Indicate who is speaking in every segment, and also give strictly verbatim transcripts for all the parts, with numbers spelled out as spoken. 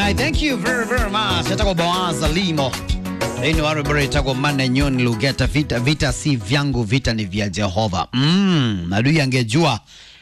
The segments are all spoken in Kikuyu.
Speaker 1: Alright, thank you very very much. Etagwo Boaz Limo. Thĩinĩ wa rwĩmbo rwĩtagwo Manenyoni Lugeta, vita, vita si vyangu, vita ni vya Jehova. Mm, adui angejua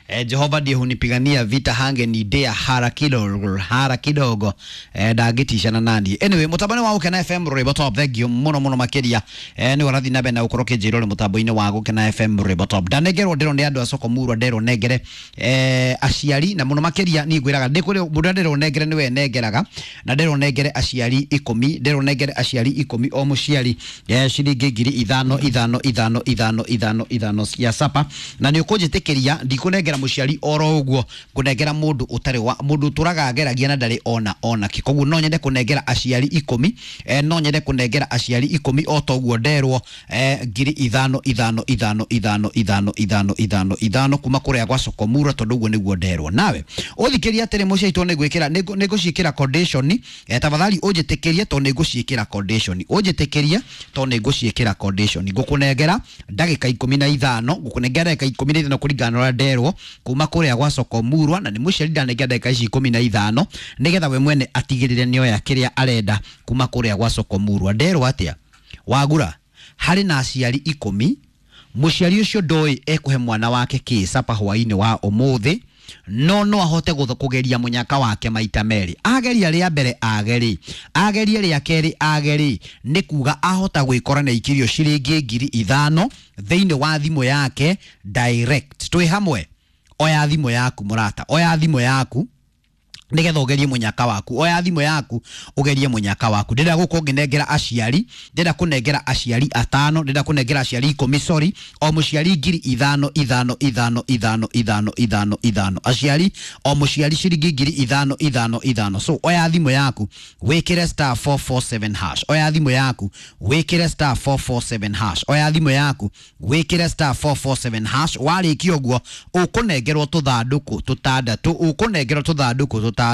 Speaker 1: eh, Jehova ndiye hunipigania vita, hange nidea hara kidogo hara kidogo eh, ndangĩticana nani. Anyway, mũtambo-inĩ wa Gũkena F M rwĩmbo top, thank you mũno mũno makĩria eh, nĩ ũrathiĩ na mbere na gũkorwo ũkĩnjĩra ũrĩ mũtambo-inĩ wa Gũkena F M rwĩmbo top. Ndanengerwo ndĩrwo nĩ andũ a soko murwa, nderwo nengere eh, aciari na mũno makĩria niĩ ngwĩraga ndĩ kũrĩ mũndũ nderwo nengere nĩwe nengeraga, na nderwo nengere aciari ikũmi, nderwo nengere aciari ikũmi o mũciari eh, ciringi ngiri ithano ithano ithano ithano ithano ithano cia sapa, na nĩ ũkũnjĩtĩkĩria ndikũnengera mũciari oro ũguo, ngũnengera mũndũ ũtarĩ wa mũndũ ũtũraga ageragia na ndarĩ ona ona kĩ. Koguo no nyende kũnengera aciari ikũmi eh, no nyende kũnengera aciari ikũmi o toguo nderwo eh, ngiri ithano ithano ithano ithano ithano ithano ithano ithano kuma kũrĩa gwa Sokomura, tondũ ũguo nĩguo nderwo. Nawe ũthikĩria atĩrĩ mũciari, tondũ nĩngwĩkĩra nĩngũciĩkĩra condition eh, tafadhali ũnjĩtĩkĩrie tondũ nĩngũciĩkĩra condition, ũnjĩtĩkĩrie tondũ nĩngũciĩkĩra condition. Ngũkũnengera ndagĩka ikũmi na ithano, ngũkũnengera ndagĩka ikũmi na ithano kũringana na ũrĩa nderwo kuma kũrĩa gwa Sokomurwa, na nĩ mũciari ndanengera ndagĩka ici ikũmi na ithano nĩgetha we mwene atigĩrĩre nĩoya kĩrĩa arenda kuma kũrĩa gwa Sokomurwa. Nderwo atĩa wagura harĩ na aciari ikũmi, mũciari ũcio ndoĩ ekũhe mwana wake kĩ sapa hwaĩ-inĩ wa ũmũthĩ, no no ahote kũgeria mũnyaka wake maita merĩ. Ageria rĩa mbere ageri, agerie rĩa kerĩ ageri, nĩ kuga ahota gwĩkora na ikirio ciringi ngiri ithano thĩinĩ wa thimũ yake direct. Twĩ hamwe, oya thimũ yaku mũrata, oya thimũ yaku nigetha ugerie munyaka waku, oya thimu yaku ugerie munyaka waku. Ndĩrenda gũkorwo ngĩnengera aciari, ndĩrenda kũnengera aciari atano, ndĩrenda kũnengera aciari ikũmi, sorry, o mũciari ngiri ithano ithano ithano ithano ithano ithano ithano, aciari o mũciari ciringi ngiri ithano ithano ithano. So oya thimũ yaku wĩkĩre star four four seven hash, oya thimũ yaku wĩkĩre star four four seven hash, oya thimũ yaku wĩkĩre star four four seven hash. Warĩkia ũguo ũkũnengerwo tũthandũkũ tũtandatũ, ũkũnengerwo tũthandũkũ tũtandatũ,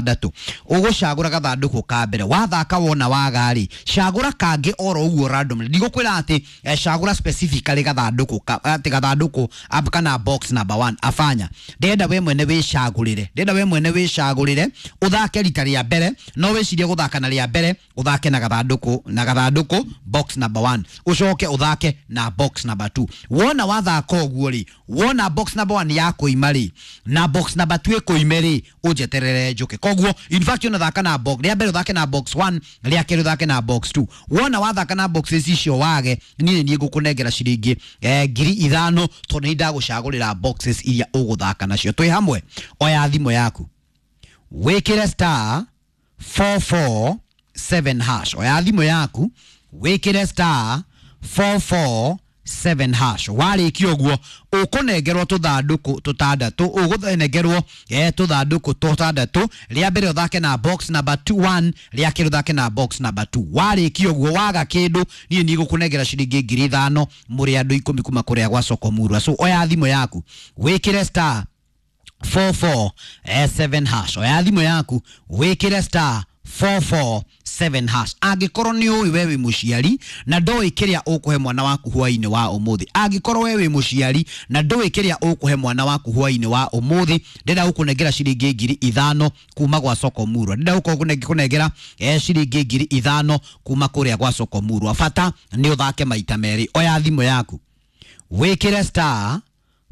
Speaker 1: ũgũcagũra gathandũkũ ka mbere, wathaka wona waga-rĩ, cagũra kangĩ oro ũguo randomly. Ndigũkwĩra atĩ eh, cagũra specifically gathandũkũ atĩ gathandũkũ kana box number one, afanya. Ndĩrenda we mwene wĩcagũrĩre, ndĩrenda we mwene wĩcagũrĩre ũthake rita rĩa mbere, no wĩcirie gũthaka na rĩa mbere ũthake na gathandũkũ na gathandũkũ box number one, ũcoke ũthake na box number two. Wona wathaka ũguo rĩ, wona box number one yakũima rĩ na box number two ĩkũime rĩ, ũnjeterere njũke. Koguo in fact unathaka na box rĩa mbere ũthake na box one, rĩa kerĩ ũthake na box two. Wona wathaka na boxes icio wage, niĩ nĩ ngũkũnengera ciringi eh, ngiri ithano tondũ nĩ ndagũcagũrĩra boxes iria ũgũthaka nacio. Twĩ hamwe, oya thimũ yaku wĩkĩre star four four seven hash, oya thimũ yaku wĩkĩre star four four seven hash. Warĩkia ũguo ũkũnengerwo tũthandũkũ tũtandatũ, ũgũnengerwo eh, tũthandũkũ tũtandatũ. Rĩa mbere ũthake na box number two one, rĩa kerĩ ũthake na box number two. Warĩkia ũguo waga kĩndũ, niĩ nĩngũkũnengera ciringi ngiri ithano mũrĩ andũ ikũmi kuma kũrĩa gwa Sokomurwa. So oya thimũ yaku wĩkĩre star four four seven hash, oya thimũ yaku wĩkĩre star four four seven hash. Angĩkorwo nĩ ũĩ we wĩ mũciari na ndũĩ kĩrĩa ũkũhe mwana waku hwaĩ-inĩ wa ũmũthĩ, angĩkorwo we wĩ mũciari na ndũĩ kĩrĩa ũkũhe mwana waku hwaĩ-inĩ wa ũmũthĩ, ndĩrenda gũkũnengera ciringi ngiri ithano kuma gwa Sokomurwa, ndĩrenda gũkorwo kũnengera eh, ciringi ngiri ithano kuma kũrĩa gwa Sokomurwa. Bata nĩ ũthake maita merĩ. Oya thimũ yaku wĩkĩre star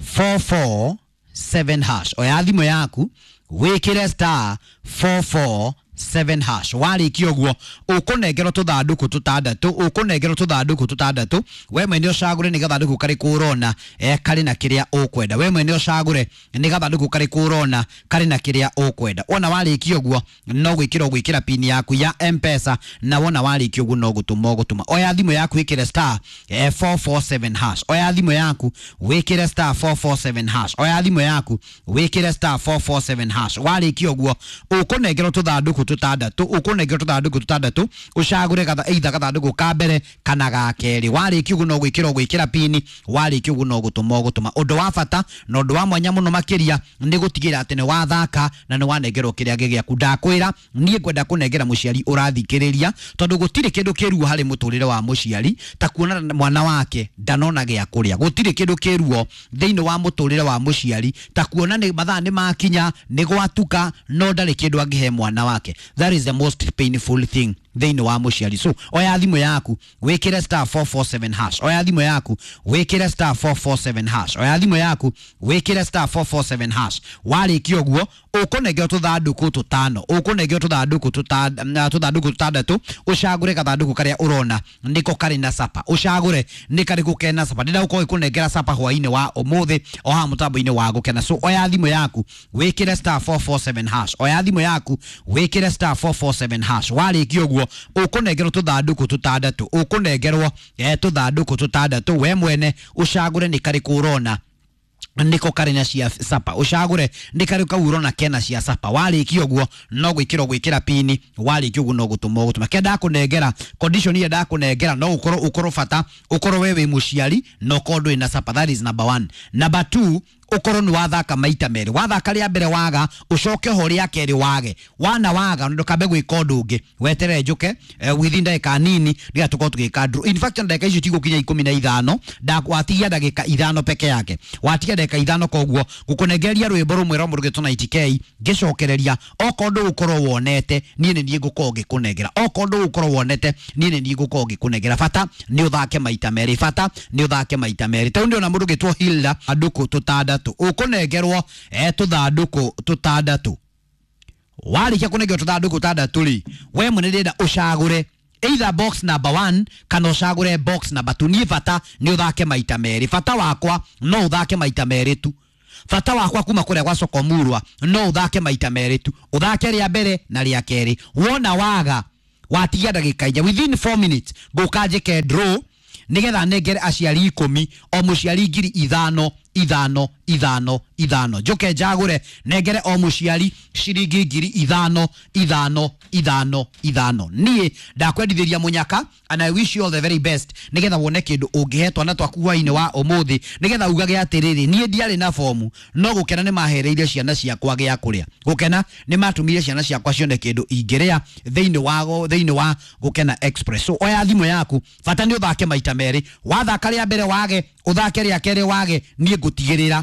Speaker 1: four four seven hash, oya thimũ yaku wĩkĩre star four four seven hash. Warĩkia ũguo ũkũnengerwo tũthandũkũ tũtandatũ, ũkũnengerwo tũthandũkũ tũtandatũ, we mwene ũcagũre nĩ gathandũkũ karĩkũ ũrona eh, karĩ na kĩrĩa ũkwenda. We mwene ũcagũre nĩ gathandũkũ karĩkũ ũrona karĩ na kĩrĩa ũkwenda. Wona warĩkia ũguo no gwĩkĩra ũgwĩkĩra pin yaku ya M-Pesa, na wona warĩkia ũguo no gũtũma ũgũtũma. Oya thimũ yaku wĩkĩre star eh, four four seven hash, oya thimũ yaku wĩkĩre star four four seven hash, oya thimũ yaku wĩkĩre star four four seven hash. Warĩkia ũguo ũkũnengerwo tũthandũkũ tũtandatũ, ũkũnengerwo tũthandũkũ tũtandatũ, ũcagũre gatha either gathandũkũ ka mbere kana ga kerĩ. Warĩkia ũguo no gwĩkĩra ũgwĩkĩra pini, warĩkia ũguo no gũtũma ũgũtũma. Ũndũ wa bata na ũndũ wa mwanya mũno makĩria nĩ gũtigĩrĩra atĩ nĩ wathaka na nĩ wanengerwo kĩrĩa gĩgĩaku. Ndakwĩra niĩ ngwenda kũnengera mũciari ũrathikĩrĩria, tondũ gũtirĩ kĩndũ kĩruo harĩ mũtũrĩre wa mũciari ta kuona mwana wake ndanona gĩa kũrĩa. Gũtirĩ kĩndũ kĩruo thĩinĩ wa mũtũrĩre wa mũciari ta kuona nĩ mathaa nĩ makinya, nĩ gwatuka, no ndarĩ kĩndũ angĩhe mwana wake. That is the most painful thing thĩinĩ wa mũciari. So oya thimũ yaku wĩkĩre star four four seven hash, oya thimũ yaku wĩkĩre star four four seven hash, oya thimũ yaku wĩkĩre star four four seven hash. Warĩkia ũguo ũkũnengerwo tũthandũkũ tũtano, ũkũnengerwo tũthandũkũ tũthandũkũ tũtandatũ, ũcagũre gathandũkũ karĩa ũrona nĩko karĩ na sapa, ũcagũre nĩ karĩkũ kena sapa. Ndĩrenda gũkorwo ngĩkũnengera sapa hwainĩ wa ũmũthĩ o haha mũtambo-inĩ wa Gũkena. So oya thimũ yaku wĩkĩre star four four seven hash, oya thimũ yaku wĩkĩre star four four seven hash. Warĩkia ũguo ũkũnengerwo tũthandũkũ tũtandatũ, ũkũnengerwo tũthandũkũ tũtandatũ, we mwene ũcagũre nĩ karĩkũ ũrona niko karĩ na cia sapa, ũcagũre nĩ karĩ kau ũrona kena cia sapa. Warĩkia ũguo no gwĩkĩra gwĩkĩra pini, warĩkia ũguo no gũtũma ũgũtũma. Kĩa ndakũnengera condition ĩrĩa ndakũnengera no ũkorwo ũkorwo bata ũkorwo we wĩ mũciari na ũkorwo ndũrĩ na sapa. That is number one. Number two, ũkorwo nĩ wathaka maita merĩ, wathaka rĩa mbere waga ũcoke ho rĩa kerĩ wage, wana waga ndũkambe gwĩka ũndũ ũngĩ, weterere njũke eh, within ndagĩka nini nĩgetha tũkorwo tũgĩka draw. In fact ndagĩka icio tigũkinya ikũmi na ithano, watigia ndagĩka ithano peke yake, watigia ndagĩka ithano, koguo ngũkũnengeria rwĩmbo rũmwe rwa mũndũ ũgĩtwo ninety K ngĩcokereria. Okorwo ndũgũkorwo wonete niĩ nĩ niĩ ngũkorwo ngĩkũnengera, okorwo ndũgũkorwo wonete niĩ nĩ niĩ ngũkorwo ngĩkũnengera. Bata nĩ ũthake maita merĩ, bata nĩ ũthake maita merĩ. Tondũ ndĩrona mũndũ ũgĩtwo Hilda andũkũ tũtandatũ, ũkũnengerwo eh tũthandũkũ tũtandatũ. Warĩkia kũnengerwo tũthandũkũ tũtandatũ rĩ, we mwene ndĩrenda ũcagũre either box number one kana ũcagũre box number two. Niĩ bata nĩ ũthake maita merĩ, bata wakwa no ũthake maita merĩ tu, bata wakwa kuma kũrĩa gwa Sokomurwa no ũthake maita merĩ tu, ũthake rĩa mbere na rĩa kerĩ. Wona waga watigia ndagĩka inya, within four minutes ngũka njĩke draw nĩgetha nengere aciari ikũmi o mũciari ngiri ithano ithano ithano ithano, njoke njagũre nengere o mũciari ciringi ngiri ithano ithano ithano ithano. Niĩ ndakwendithĩria mũnyaka and I wish you all the very best, nĩgetha wone kĩndũ ũngĩhe twana twaku hwainĩ wa ũmũthĩ, nĩgetha ugage atĩrĩrĩ, niĩ ndiarĩ na bomu no gũkena nĩ mahereire ciana ciakwa gĩa kũrĩa, gũkena nĩ matũmire ciana ciakwa cione kĩndũ ingĩrĩa thĩinĩ wa thĩinĩ wa Gũkena Express. So oya thimũ yaku, bata nĩ ũthake maita merĩ, wathaka rĩa mbere wage, ũthake rĩa kerĩ wage, niĩ ngũtigĩrĩra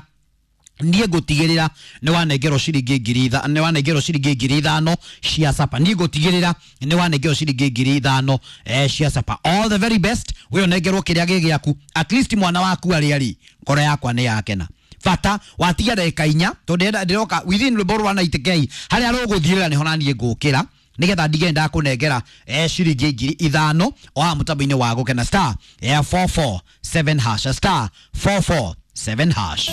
Speaker 1: niĩ ngũtigĩrĩra nĩ wanengerwo ciringi ngiri ithano, nĩ wanengerwo ciringi ngiri ithano cia sapa, niĩ ngũtigĩrĩra nĩ wanengerwo ciringi ngiri ithano eh, cia sapa. All the very best, we ũnengerwo kĩrĩa gĩ gĩaku, at least mwana waku arĩa rĩ, ngoro yakwa nĩ yakena. Bata watigia ndagĩka inya, tondũ ndĩroka within rwĩmbo rwa ninety K harĩa rũgũthirĩra nĩho naniĩ ngũkĩra nĩgetha ndige ndakũnengera eh, ciringi ngiri ithano o haha mũtambo-inĩ wa Gũkena. Star eh, four four seven hash, star four four seven hash.